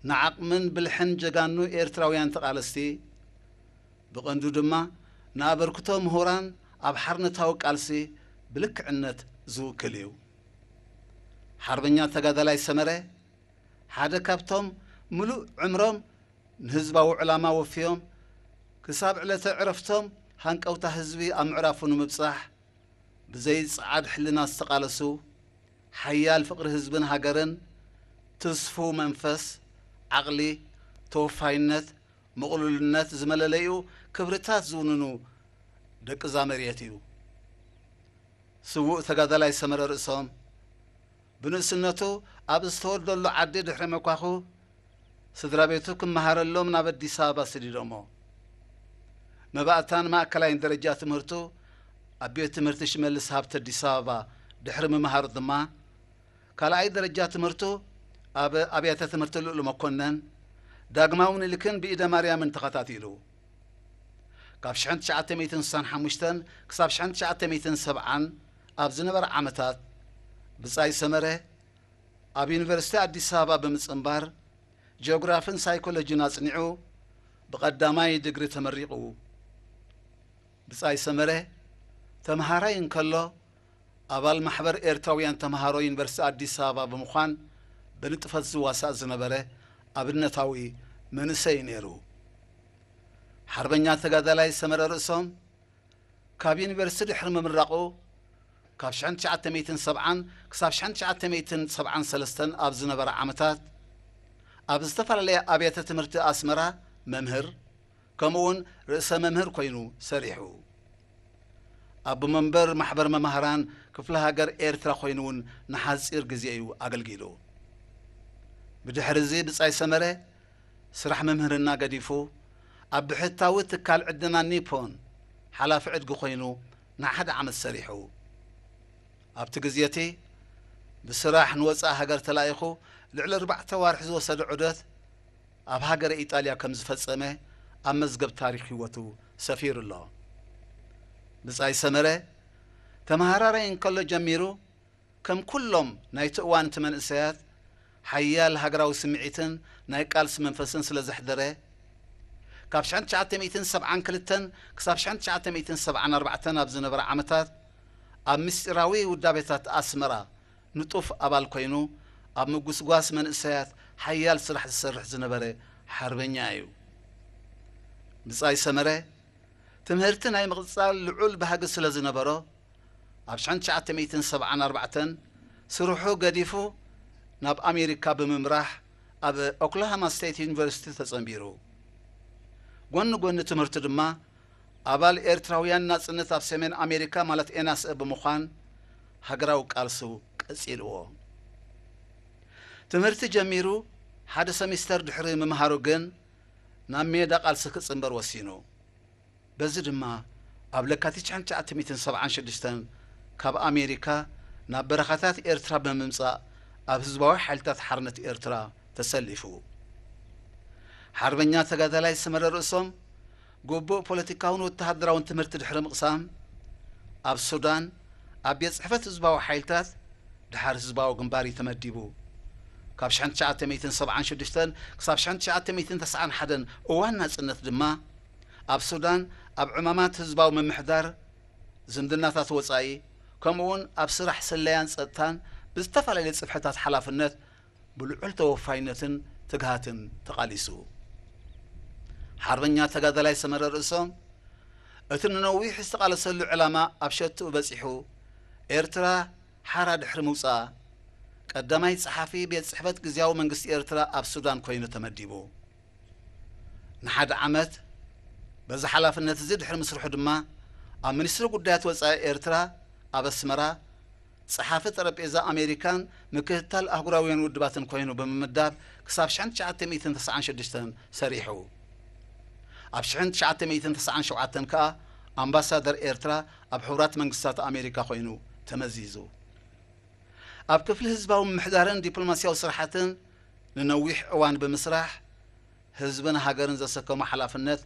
ንዓቕምን ብልሕን ጀጋኑ ኤርትራውያን ተቓለስቲ፣ ብቐንዱ ድማ ንኣበርክቶ ምሁራን ኣብ ሓርነታዊ ቃልሲ ብልክዕነት ዝውክል እዩ። ሓርበኛ ተጋዳላይ ሰመረ ሓደ ካብቶም ምሉእ ዕምሮም ንህዝባዊ ዕላማ ወፍዮም ክሳብ ዕለተ ዕረፍቶም ሃንቀውታ ህዝቢ ኣብ ምዕራፉ ንምብጻሕ ብዘይ ጸዓድ ሕልና ዝተቓለሱ፣ ሓያል ፍቕሪ ህዝብን ሃገርን፣ ትስፉው መንፈስ፣ ዓቕሊ፣ ተወፋይነት፣ ምቕሉልነት ዝመለለዩ ክብርታት ዝውንኑ ደቂ እዛ መሬት እዩ። ስዉእ ተጋዳላይ ሰመረ ርእሶም ብንእስነቱ ኣብ ዝተወልደሉ ዓዲ ድሕሪ ምኳኹ ስድራ ቤቱ ክመሃረሎም ናብ ኣዲስ ኣበባ ሰዲዶሞ። መባእታን ማእከላይን ደረጃ ትምህርቱ ኣብ ቤት ትምህርቲ ሽመልስ ሃብተ ኣዲስ ኣበባ ድሕሪ ምምሃሩ ድማ ካልኣይ ደረጃ ትምህርቱ ኣብ ኣብያተ ትምህርቲ ልኡል መኮነን፣ ዳግማዊ ምኒልክን ብኢደ ማርያምን ተኸታቲሉ። ካብ ሽሕን ትሽዓተ ሚእትን ስሳን ሓሙሽተን ክሳብ ሽሕን ትሽዓተ ሚእትን ሰብዓን ኣብ ዝነበረ ዓመታት ብጻይ ሰመረ ኣብ ዩኒቨርሲቲ ኣዲስ ኣበባ ብምጽንባር ጂኦግራፍን ሳይኮሎጂን ኣጽኒዑ ብቐዳማይ ድግሪ ተመሪቑ። ብጻይ ሰመረ ተምሃራይ እንከሎ ኣባል ማሕበር ኤርትራውያን ተምሃሮ ዩኒቨርሲቲ ኣዲስ ኣበባ ብምዃን ብንጥፈት ዝዋሳእ ዝነበረ ኣብነታዊ መንእሰይ ነይሩ። ሓርበኛ ተጋዳላይ ሰመረ ርእሶም ካብ ዩኒቨርሲቲ ድሕሪ ምምራቑ ካብ ሽሕን ትሽዓተ ሚእትን ሰብዓን ክሳብ ሽሕን ትሽዓተ ሚእትን ሰብዓን ሰለስተን ኣብ ዝነበረ ዓመታት ኣብ ዝተፈላለያ ኣብያተ ትምህርቲ ኣስመራ መምህር ከምኡውን ርእሰ መምህር ኮይኑ ሰሪሑ። ኣቦ መንበር ማሕበር መማህራን ክፍለ ሃገር ኤርትራ ኮይኑ እውን ንሓጺር ግዜ እዩ ኣገልጊሉ። ብድሕሪ እዚ ብጻይ ሰመረ ስራሕ ምምህርና ገዲፉ ኣብ ብሕታዊ ትካል ዕድና ኒፖን ሓላፊ ዕድጊ ኮይኑ ንሓደ ዓመት ሰሪሑ። ኣብቲ ግዜ እቲ ብስራሕ ንወጻኢ ሃገር ተላኢኹ ልዕሊ ኣርባዕተ ዋርሒ ዝወሰደ ዑደት ኣብ ሃገረ ኢጣልያ ከም ዝፈጸመ ኣብ መዝገብ ታሪኽ ህይወቱ ሰፊሩ ኣሎ። ብጻይ ሰመረ ተመሃራራይ እንከሎ ጀሚሩ ከም ኩሎም ናይቲ እዋን እቲ መንእሰያት ሓያል ሃገራዊ ስምዒትን ናይ ቃልሲ መንፈስን ስለ ዘሕደረ ካብ ሽሕን ትሽዓተ ሚእትን ሰብዓን ክልተን ክሳብ ሽሕን ትሽዓተ ሚእትን ሰብዓን ኣርባዕተን ኣብ ዝነበረ ዓመታት ኣብ ምስጢራዊ ውዳቤታት ኣስመራ ንጡፍ ኣባል ኮይኑ ኣብ ምጉስጓስ መንእሰያት ሓያል ስራሕ ዝሰርሕ ዝነበረ ሓርበኛ እዩ። ብጻይ ሰመረ ትምህርቲ ናይ ምቕጻል ልዑል ባህጊ ስለ ዝነበሮ ኣብ ሽሕን ትሽዓተ ሚእትን ሰብዓን ኣርባዕተን ስርሑ ገዲፉ ናብ ኣሜሪካ ብምምራሕ ኣብ ኦክላሃማ ስቴት ዩኒቨርሲቲ ተጸንቢሩ። ጎኒ ጎኒ ትምህርቱ ድማ ኣባል ኤርትራውያን ናጽነት ኣብ ሰሜን ኣሜሪካ ማለት ኤናስኤ ብምዃን ሃገራዊ ቃልሱ ቀጺልዎ። ትምህርቲ ጀሚሩ ሓደ ሰሚስተር ድሕሪ ምምሃሩ ግን ናብ ሜዳ ቃልሲ ክጽንበር ወሲኑ። በዚ ድማ ኣብ ለካቲት ሽሕን ትሽዓተ ሚእትን ሰብዓን ሽዱሽተን ካብ ኣሜሪካ ናብ በረኻታት ኤርትራ ብምምጻእ ኣብ ህዝባዊ ሓይልታት ሓርነት ኤርትራ ተሰሊፉ። ሓርበኛ ተጋዳላይ ሰመረ ርእሶም ግቡእ ፖለቲካውን ወተሃደራውን ትምህርቲ ድሕሪ ምቕሳም ኣብ ሱዳን ኣብ ቤት ጽሕፈት ህዝባዊ ሓይልታት ድሓር ህዝባዊ ግንባር እዩ ተመዲቡ። ካብ ሽሕን ትሽዓተ ሚእትን ሰብዓን ሽዱሽተን ክሳብ ሽሕን ትሽዓተ ሚእትን ተስዓን ሓደን እዋን ናጽነት ድማ ኣብ ሱዳን ኣብ ዕማማት ህዝባዊ ምምሕዳር፣ ዝምድናታት ወጻኢ፣ ከምኡውን ኣብ ስራሕ ስለያን ጸጥታን ብዝተፈላለየ ጽፍሕታት ሓላፍነት ብልዑል ተወፋይነትን ትግሃትን ተቓሊሱ። ሓርበኛ ተጋዳላይ ሰመረ ርእሶም እቲ ንነዊሕ ዝተቓለሰሉ ዕላማ ኣብ ሸትኡ በጺሑ ኤርትራ ሓራ ድሕሪ ምውጻኣ ቀዳማይ ጸሓፊ ቤት ጽሕፈት ግዝያዊ መንግስቲ ኤርትራ ኣብ ሱዳን ኮይኑ ተመዲቡ። ንሓደ ዓመት በዚ ሓላፍነት እዚ ድሕሪ ምስርሑ ድማ ኣብ ሚኒስትሪ ጉዳያት ወጻኢ ኤርትራ ኣብ ኣስመራ ጸሓፊ ጠረጴዛ ኣሜሪካን ምክትታል ኣህጉራውያን ውድባትን ኮይኑ ብምምዳብ ክሳብ ሽሕን ትሽዓተ ሚእትን ተስዓን ሽዱሽተን ሰሪሑ። ኣብ ሽሕን ትሽዓተ ሚእትን ተስዓን ሸውዓተን ከኣ ኣምባሳደር ኤርትራ ኣብ ሕቡራት መንግስታት ኣሜሪካ ኮይኑ ተመዚዙ። ኣብ ክፍሊ ህዝባዊ ምምሕዳርን ዲፕሎማስያዊ ስራሓትን ንነዊሕ እዋን ብምስራሕ ህዝብን ሃገርን ዘሰከሞ ሓላፍነት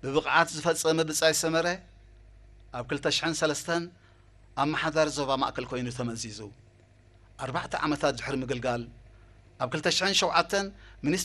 ብብቕዓት ዝፈጸመ ብጻይ ሰመረ ኣብ ክልተ ሽሕን ሰለስተን ኣመሓዳሪ ዞባ ማእከል ኮይኑ ተመዚዙ። ኣርባዕተ ዓመታት ድሕሪ ምግልጋል ኣብ ክልተ ሽሕን ሸውዓተን ሚኒስትሪ